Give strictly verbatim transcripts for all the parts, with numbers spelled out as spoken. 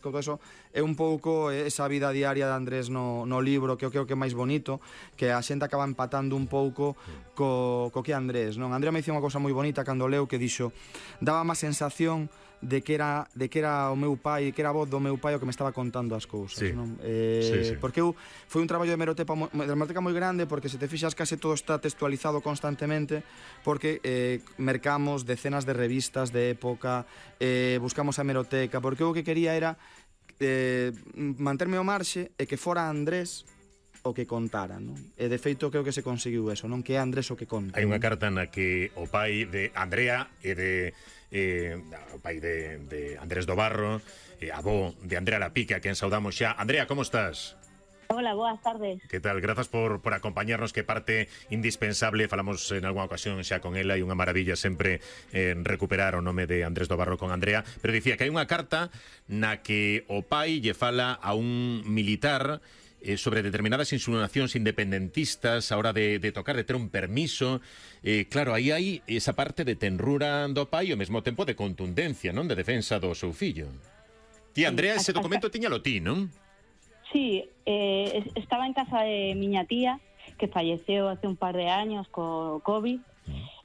todo eso é un pouco esa vida diaria de Andrés no, no libro, que eu creo que é máis bonito, que a xente acaba empatando un pouco co, co que Andrés, non? Andrés me dixo unha cousa moi bonita cando leu, que dixo, daba má sensación de que era de que era o meu pai, que era a voz do meu pai o que me estaba contando as cousas, sí. non? Eh, sí, sí. Porque eu foi un traballo de hemeroteca, de hemeroteca moi grande, porque se te fixas case todo está textualizado constantemente, porque eh, mercamos decenas de revistas de época, eh, buscamos a hemeroteca, porque eu o que quería era eh, manterme ao marxe e que fora Andrés o que contara, non? E de feito creo que se conseguiu eso, non? Que é Andrés o que conta. Hai unha carta na que o pai de Andrea e de eh, o pai de, de Andrés do Barro, eh, avó de Andrea Lapique, a quen saudamos xa. Andrea, como estás? Hola, boas tardes. Que tal? Grazas por, por acompañarnos, que parte indispensable. Falamos en algunha ocasión xa con ela, e unha maravilla sempre eh, recuperar o nome de Andrés do Barro con Andrea, pero dicía que hai unha carta na que o pai lle fala a un militar eh, sobre determinadas insinuacións independentistas a hora de, de tocar, de ter un permiso. Eh, claro, aí hai esa parte de tenrura do pai e ao mesmo tempo de contundencia, non? De defensa do seu fillo. Ti, Andrea, ese documento tiñalo ti, non? Sí, eh, estaba en casa de miña tía, que falleceu hace un par de años co COVID,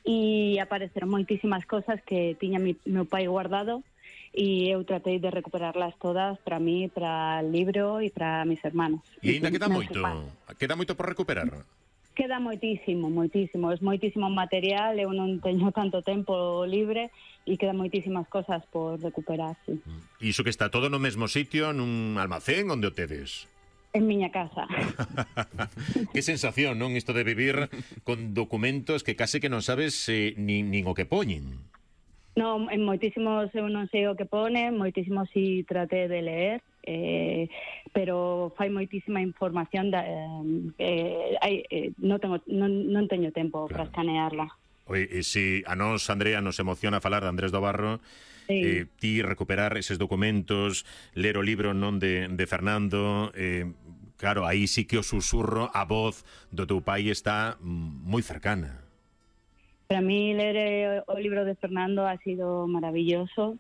e apareceron moitísimas cosas que tiña mi, meu pai guardado, e eu tratei de recuperarlas todas para mí, para el libro e para mis hermanos. E ainda queda moito, queda moito por recuperar. Queda moitísimo, moitísimo, es moitísimo material, eu non teño tanto tempo libre e quedan moitísimas cosas por recuperar, sí. E iso que está todo no mesmo sitio, nun almacén, onde o tedes? En miña casa. Que sensación, non? Isto de vivir con documentos que case que non sabes eh, nin, nin o que poñen. Non, en moitísimos eu non sei o que pone, moitísimos si traté de leer, eh, pero fai moitísima información, da, eh, eh, eh, non, tengo, non, non teño tempo claro. para escanearla. Oye, e si a nos, Andrea, nos emociona falar de Andrés do Barro, sí. eh, ti recuperar eses documentos, ler o libro non de, de Fernando, eh, claro, aí sí que o susurro, a voz do teu pai está moi cercana. Para mí leer o libro de Fernando ha sido maravilloso,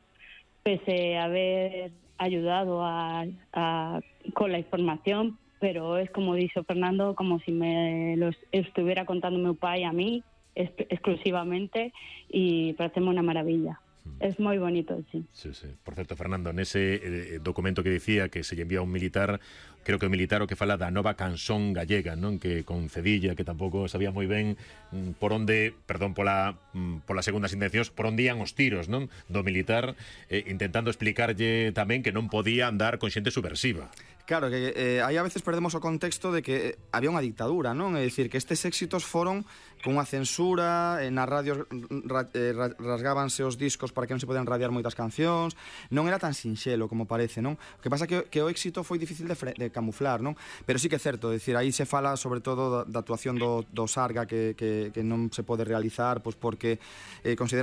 pese a haber ayudado a, a, con la información, pero es como dice Fernando, como si me lo estuviera contando mi pai a mí, exclusivamente, y pareceme una maravilla. Es moi bonito, sí. Sí, sí. Por certo, Fernando, nese eh, documento que dicía que se lle envía a un militar, creo que o militar o que fala da nova canción gallega, non? Que con Cedilla, que tampouco sabía moi ben mm, por onde, perdón pola mm, polas segundas intencións, por onde ian os tiros, non? Do militar, eh, intentando explicarlle tamén que non podía andar con xente subversiva. Claro, que eh, aí a veces perdemos o contexto de que había unha dictadura, non? É dicir, que estes éxitos foron con unha censura, eh, nas radios ra, eh, rasgábanse os discos para que non se podían radiar moitas cancións, non era tan sinxelo como parece, non? O que pasa que, que o éxito foi difícil de, fre, de camuflar, non? Pero sí que é certo, é dicir, aí se fala sobre todo da, da actuación do, do Sarga que, que, que non se pode realizar, pois porque eh, considera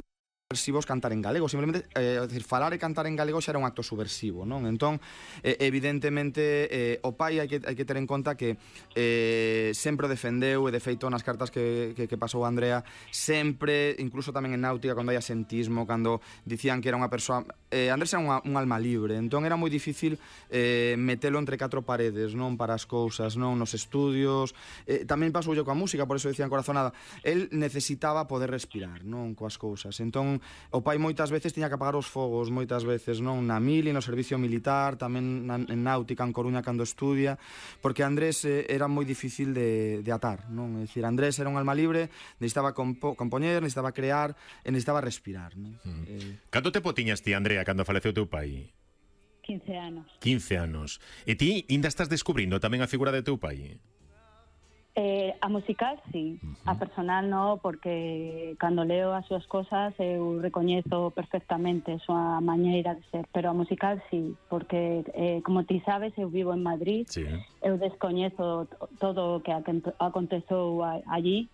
subversivos cantar en galego, simplemente eh, decir, falar e cantar en galego xa era un acto subversivo, non? Entón, eh, evidentemente eh, o pai hai que, hai que ter en conta que eh, sempre defendeu, e de feito nas cartas que, que, que pasou a Andrea, sempre, incluso tamén en náutica, cando hai asentismo, cando dicían que era unha persoa, eh, Andrés era unha, un alma libre, entón era moi difícil eh, metelo entre catro paredes, non? Para as cousas, non? Nos estudios, eh, tamén pasou yo coa música, por eso dicían Corazonada, el necesitaba poder respirar, non? Coas cousas, entón o pai moitas veces tiña que apagar os fogos, moitas veces, non? Na mili, no servicio militar, tamén na, en náutica, en Coruña, cando estudia, porque Andrés eh, era moi difícil de, de atar, non? É dicir, Andrés era un alma libre, necesitaba compo, compoñer, necesitaba crear, e necesitaba respirar, non? Mm. Eh... Canto tempo tiñas ti, Andrea, cando faleceu teu pai? quince anos. quince anos. E ti ainda estás descubrindo tamén a figura de teu pai? Eh, a musical, sí. Uh-huh. A personal, no, porque cando leo as súas cosas eu recoñezo perfectamente a súa maneira de ser, pero a musical, sí, porque, eh, como ti sabes, eu vivo en Madrid, sí. Eu descoñezo todo o que aconteceu allí,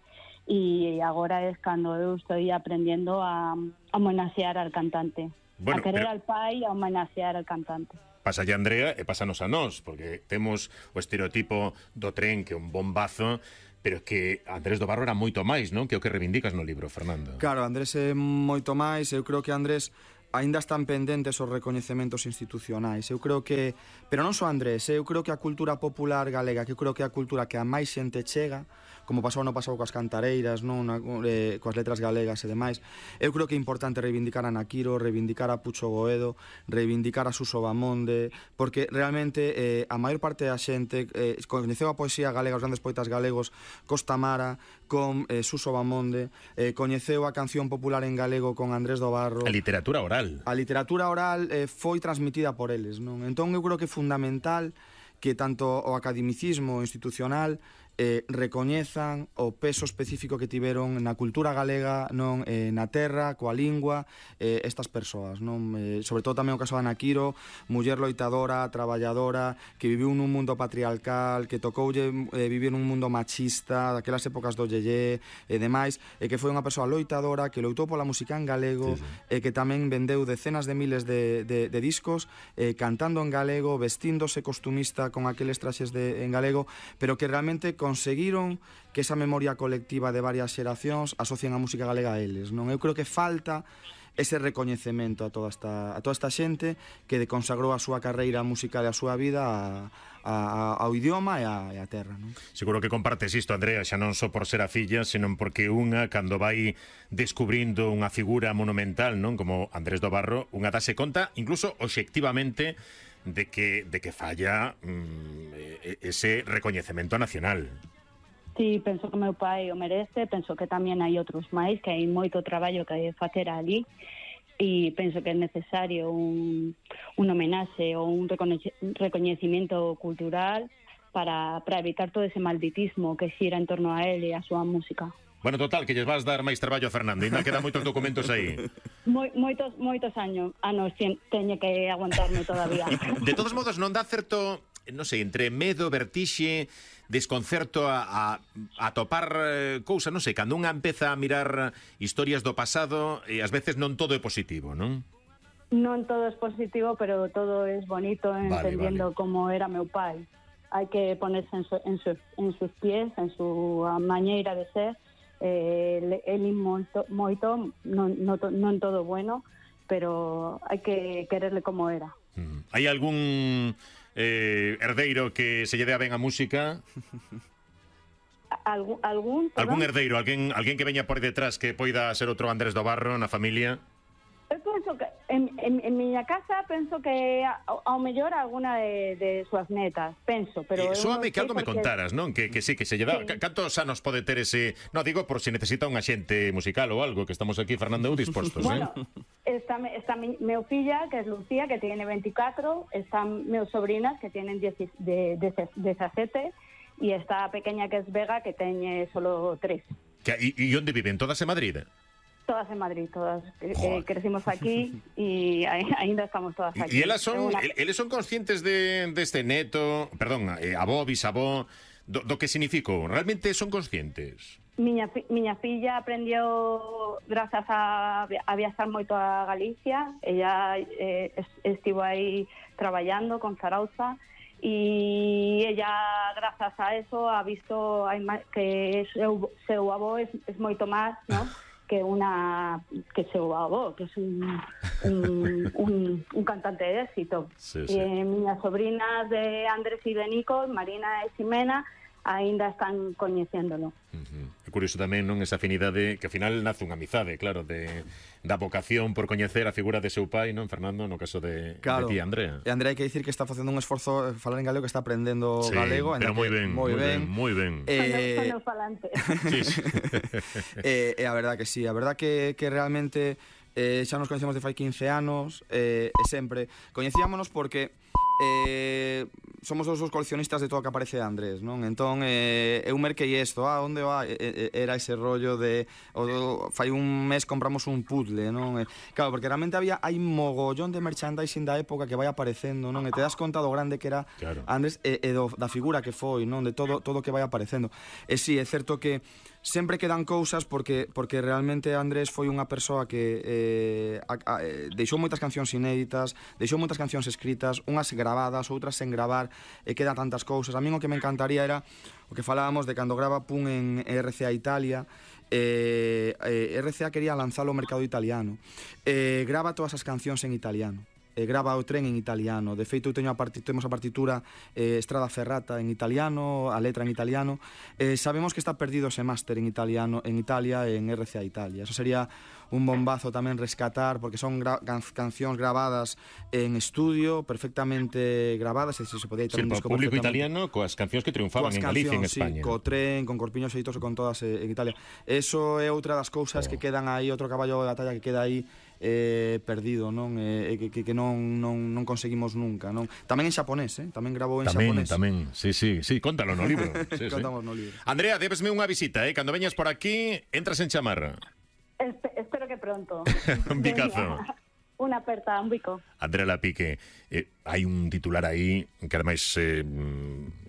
e agora é cando eu estou aprendendo a, a homenaxear al cantante, bueno, a querer pero... al pai e a homenaxear al cantante. Pasa a Andrea e pásanos a nós, porque temos o estereotipo do tren que é un bombazo, pero que Andrés do Barro era moito máis, non? Que o que reivindicas no libro, Fernando. Claro, Andrés é moito máis, eu creo que Andrés aínda están pendentes os recoñecementos institucionais. Eu creo que, pero non só Andrés, eu creo que a cultura popular galega, que eu creo que é a cultura que a máis xente chega, como pasou no pasado coas cantareiras, non, na, eh, coas letras galegas e demais. Eu creo que é importante reivindicar a Naquiro, reivindicar a Pucho Goedo, reivindicar a Suso Bamonde, porque realmente eh, a maior parte da xente eh, coñeceu a poesía galega, os grandes poetas galegos, Costa Mara, con eh, Suso Bamonde, eh, coñeceu a canción popular en galego con Andrés do Barro. A literatura oral. A literatura oral eh, foi transmitida por eles, non? Entón eu creo que é fundamental que tanto o academicismo institucional eh, recoñezan o peso específico que tiveron na cultura galega, non, eh, na terra, coa lingua, eh, estas persoas, non? Eh, sobre todo tamén o caso de Naquiro, muller loitadora, traballadora, que viviu nun mundo patriarcal, que tocoulle eh, vivir nun mundo machista, daquelas épocas do yeyé e demais, e que foi unha persoa loitadora, que loitou pola música en galego, sí, sí. E que tamén vendeu decenas de miles de, de, de discos, eh, cantando en galego, vestíndose costumista con aqueles traxes de, en galego, pero que realmente conseguiron que esa memoria colectiva de varias xeracións asocien a música galega a eles, non? Eu creo que falta ese recoñecemento a toda esta, a toda esta xente que consagrou a súa carreira musical e a súa vida a, a, ao idioma e a, e a terra, non? Seguro que compartes isto, Andrea, xa non só por ser a filla, senón porque unha, cando vai descubrindo unha figura monumental, non, como Andrés do Barro, unha dase conta, incluso obxectivamente, de que, de que falla mm, ese recoñecemento nacional. Sí, penso que meu pai o merece, penso que tamén hai outros máis, que hai moito traballo que hai de facer ali, e penso que é necesario un, un homenaxe ou un recoñecimento cultural para, para evitar todo ese malditismo que xira en torno a él e a súa música. Bueno, total, que lles vas dar máis traballo a Fernando, ainda quedan moitos documentos aí. Moi, moitos moitos años, anos teño que aguantarme todavía. De todos modos, non dá certo, non sei, entre medo, vertixe, desconcerto a, a, a topar eh, cousa, non sei, cando unha empeza a mirar historias do pasado, e ás veces non todo é positivo, non? Non todo é positivo, pero todo é bonito, entendiendo vale, vale. Como era meu pai. Hai que ponerse en, su, en, su, en sus pies, en su maneira de ser. Eh, el moito, moito non, non, non todo bueno, pero hai que quererle como era. Mm. Hai algún eh, herdeiro que se lle dea ben a música? Algún, algún, algún herdeiro, alguén, alguén que veña por detrás que poida ser outro Andrés do Barro na familia? Eu penso que en, en, en miña casa penso que ao, ao mellor alguna de, de súas netas, penso, pero... Eh, Soame que algo me porque... contaras, non? Que, que sí, que se lle dá... Sí. Cantos anos pode ter ese... No, digo, por si necesita un axente musical ou algo, que estamos aquí, Fernando, dispostos, bueno, eh? está, está mi, meu filla, que é Lucía, que tiene veinticuatro, están meus sobrinas, que tienen diecisiete, e está a pequeña, que es Vega, que teñe solo tres. E onde viven? Todas en Madrid? Todas en Madrid, todas eh, crecimos aquí e ainda estamos todas aquí. E elas son, una... eles son conscientes de deste de neto, perdón, eh, avó, bisavó, do, do que significou? Realmente son conscientes? Miña, miña filla aprendeu grazas a, a viaxar moito a Galicia, ella eh, estivo aí traballando con Zarauza, e ella, grazas a eso, ha visto que seu, seu avó é, é moito máis, ¿no? que una que seu avó, que es un, un, un, un cantante de éxito. Sí, sí. Eh, miñas sobrinas de Andrés e de Nico, Marina e Ximena, aínda están coñecéndolo. Uh-huh. É curioso tamén, non, esa afinidade que ao final nace unha amizade, claro, de da vocación por coñecer a figura de seu pai, non, Fernando, no caso de, claro, de ti, Andrea. E Andrea hai que dicir que está facendo un esforzo falar en galego, que está aprendendo sí, galego, pero moi ben, moi ben, moi ben. Eh, son falante. Sí, sí. E eh, eh, a verdad que sí, a verdad que, que realmente eh, xa nos coñecemos de fai quince anos, eh, e sempre coñecíamonos porque eh, somos os dos coleccionistas de todo o que aparece de Andrés, non? Entón, eh, eu merquei isto, ah, onde va? Eh, era ese rollo de o, fai un mes compramos un puzzle, non? Eh, claro, porque realmente había hai mogollón de merchandising da época que vai aparecendo, non? E te das conta do grande que era claro. Andrés e, e do, da figura que foi, non? De todo todo que vai aparecendo. E si, sí, é certo que sempre quedan cousas porque porque realmente Andrés foi unha persoa que eh, a, a, deixou moitas cancións inéditas, deixou moitas cancións escritas, unhas gravadas, outras sen gravar, e quedan tantas cousas. A min o que me encantaría era o que falábamos de cando grava Pun en R C A Italia, eh, eh, R C A quería lanzalo ao mercado italiano. Eh, grava todas as cancións en italiano. Eh, grava o tren en italiano. De feito, teño a parti temos a partitura eh, Strada Ferrata en italiano, a letra en italiano. Eh, sabemos que está perdido ese máster en italiano en Italia e en R C A Italia. Eso sería un bombazo tamén rescatar, porque son gra can cancións grabadas en estudio, perfectamente grabadas, e se se podía sí, tamén o disco público italiano coas cancións que triunfaban en Galicia e en España. Sí, co tren, con Corpiño Xeitoso, con todas eh, en Italia. Eso é outra das cousas oh. que quedan aí, outro caballo de batalla que queda aí eh, perdido, non? Eh, que, que, que non, non, non conseguimos nunca, non? Tamén en xaponés, eh? Tamén grabou en tamén, xaponés. Tamén, sí, sí, sí, contalo no libro. Sí, Contamos sí. no libro. Andrea, debesme unha visita, eh? Cando veñas por aquí, entras en chamar. Espe espero que pronto. Un picazo. Unha aperta, un bico. Andrea Lapique, eh, hai un titular aí que ademais eh,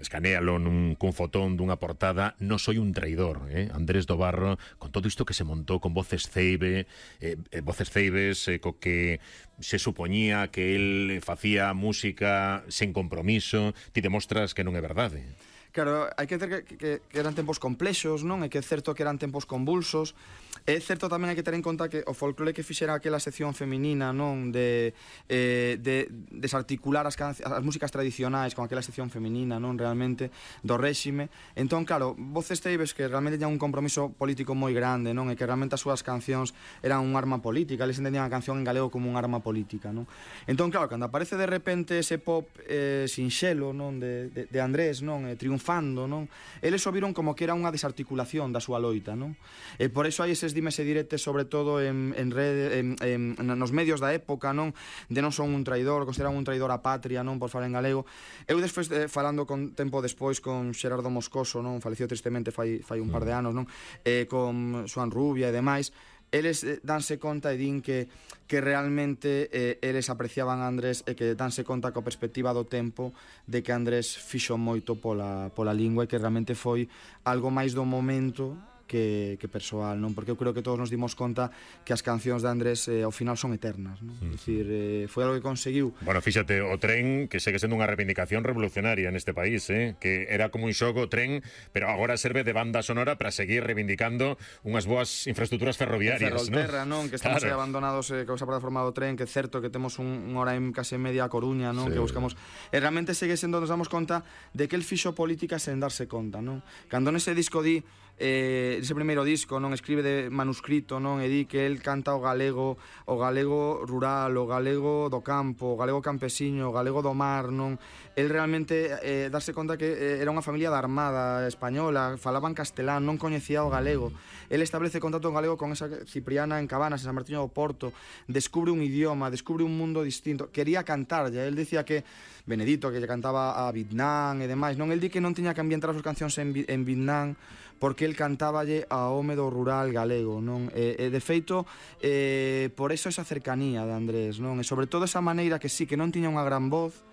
escanéalo nun, cun fotón dunha portada: "No soy un traidor", eh? Andrés do Barro, con todo isto que se montou con Voces Ceibe, eh, eh, Voces Ceibes, eh, co que se supoñía que el facía música sen compromiso, ti demostras que non é verdade. Claro, hai que ter que, que, que eran tempos complexos, non? É que é certo que eran tempos convulsos. É certo tamén hai que ter en conta que o folclore que fixera aquela sección feminina, non? De, eh, de desarticular as, as músicas tradicionais con aquela sección feminina, non? Realmente, do réxime. Entón, claro, Voces Ceibes, que realmente teñan un compromiso político moi grande, non? E que realmente as súas cancións eran un arma política, eles entendían a canción en galego como un arma política, non? Entón, claro, cando aparece de repente ese pop eh, sinxelo, non? De, de, de Andrés, non? Eh, triunfando, non? Eles o viron como que era unha desarticulación da súa loita, non? E por iso hai eses dimes e diretes, sobre todo en, en, rede, en, en, nos medios da época, non? De non son un traidor, consideran un traidor a patria, non? Por falar en galego. Eu despois, eh, falando con tempo despois con Xerardo Moscoso, non? Faleceu tristemente fai, fai un par de anos, non? Eh, con Xoan Rubia e demais, eles eh, danse conta e din que, que realmente eh, eles apreciaban a Andrés e que danse conta coa perspectiva do tempo de que Andrés fixo moito pola, pola lingua e que realmente foi algo máis do momento que, que persoal, non? Porque eu creo que todos nos dimos conta que as cancións de Andrés eh, ao final son eternas, non? Uh -huh. É dicir, eh, foi algo que conseguiu. Bueno, fíxate, o tren que segue sendo unha reivindicación revolucionaria neste país, eh? Que era como un xogo o tren, pero agora serve de banda sonora para seguir reivindicando unhas boas infraestructuras ferroviarias, non? Ferrolterra, non? Que estamos claro. aí abandonados eh, con esa plataforma do tren, que é certo que temos un, un hora en case media a Coruña, non? Sí. Que buscamos. E realmente segue sendo, nos damos conta de que el fixo política sen darse conta, non? Cando nese disco di eh, ese primeiro disco, non? Escribe de manuscrito, non? E di que el canta o galego, o galego rural, o galego do campo, o galego campesiño, o galego do mar, non? El realmente eh, darse conta que eh, era unha familia da Armada española, falaban castelán, non coñecía o galego. El establece contacto en galego con esa Cipriana en Cabanas, en San Martiño do Porto, descubre un idioma, descubre un mundo distinto. Quería cantar, ya el decía que Benedito, que lle cantaba a Vietnam e demais, non? El di que non tiña que ambientar as súas cancións en, en Vietnam, porque el cantáballe a home do rural galego, non? E, e de feito, eh, por eso esa cercanía de Andrés, non? E sobre todo esa maneira que sí, que non tiña unha gran voz,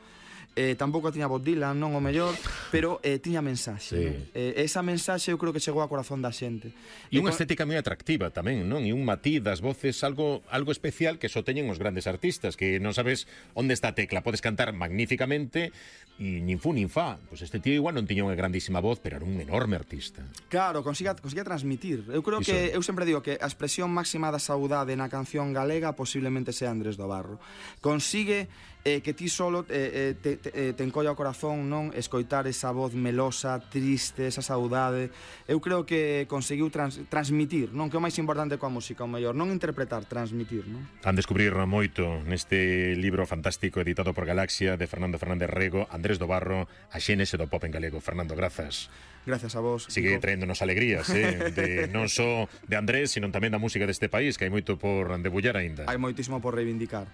eh, tampouco tiña Bob Dylan, non o mellor, pero eh, tiña mensaxe, sí. Non? Eh, esa mensaxe eu creo que chegou ao corazón da xente. E unha estética moi atractiva tamén, non? E un matiz das voces, algo algo especial que só teñen os grandes artistas, que non sabes onde está a tecla, podes cantar magníficamente e nin fu nin fa. Pois este tío igual non tiña unha grandísima voz, pero era un enorme artista. Claro, consiga, consiga transmitir. Eu creo Iso. que, eu sempre digo que a expresión máxima da saudade na canción galega posiblemente sea Andrés do Barro. Consigue eh, que ti solo eh, te, te, te encolla o corazón, non? Escoitar esa voz melosa, triste, esa saudade. Eu creo que conseguiu trans, transmitir, non? Que é o máis importante coa música, o mellor, non interpretar, transmitir, non? Han descubrir moito neste libro fantástico editado por Galaxia de Fernando Fernández Rego, Andrés do Barro, a xénese do pop en galego. Fernando, grazas. Gracias a vos. Sigue traéndonos alegrías, eh? De, non só de Andrés, sino tamén da música deste país, que hai moito por debullar aínda. Hai moitísimo por reivindicar.